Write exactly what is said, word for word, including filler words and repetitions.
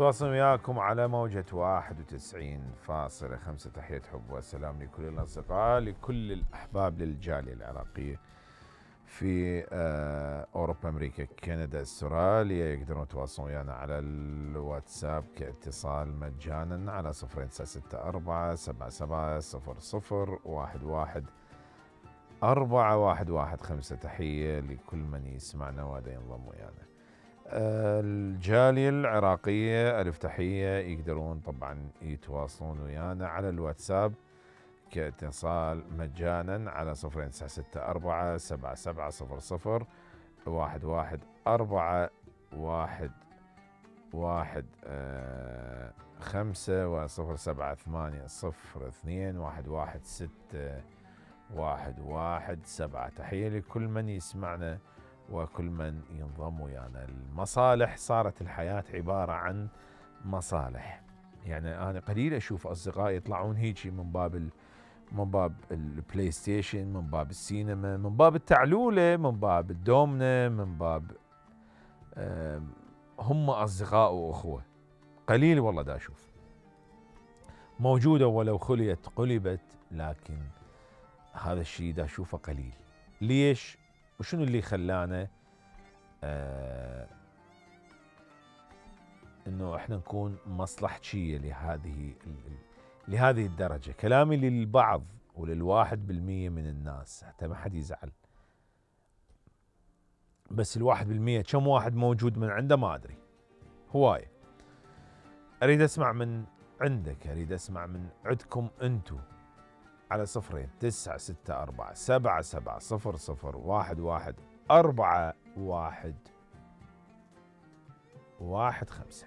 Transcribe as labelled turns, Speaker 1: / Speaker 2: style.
Speaker 1: تواصل وياكم على موجة واحد وتسعين فاصلة خمسة. تحية حب وسلام لكل الأصدقاء، لكل الأحباب للجالية العراقية في أوروبا، أمريكا، كندا، استراليا. يقدرون يتواصلون ويانا على الواتساب كاتصال مجانا على صفر تسعة ستة أربعة سبعة سبعة صفر صفر واحد واحد أربعة واحد واحد خمسة. تحية لكل من يسمعنا وهذا ينضم ويانا. الجالية العراقية ألف تحية. يقدرون طبعا يتواصلون ويانا على الواتساب كاتصال مجانا على صفر تسعة ستة أربعة سبعة سبعة صفر صفر واحد واحد أربعة واحد واحد خمسة وصفر سبعة ثمانية صفر اثنين واحد واحد ستة واحد واحد سبعة. تحية لكل من يسمعنا وكل من ينضم ويانا. المصالح، صارت الحياة عبارة عن مصالح. يعني أنا قليل أشوف أصدقائي يطلعون هيجي من باب من باب البلاي ستيشن، من باب السينما، من باب التعلولة، من باب الدومنة، من باب هم أصدقاء وأخوة. قليل والله دا أشوف. موجودة ولو خليت قلبت، لكن هذا الشيء دا أشوفه قليل. ليش؟ وشنو اللي خلانا آه انه احنا نكون مصلحجية لهذه لهذه الدرجة؟ كلامي للبعض وللواحد بالمية من الناس، حتى ما حد يزعل. بس الواحد بالمية كم واحد موجود من عنده ما ادري، هواية. اريد اسمع من عندك، اريد اسمع من عندكم انتو على صفرين تسعة ستة أربعة سبعة سبعة صفر صفر واحد واحد أربعة واحد واحد خمسة.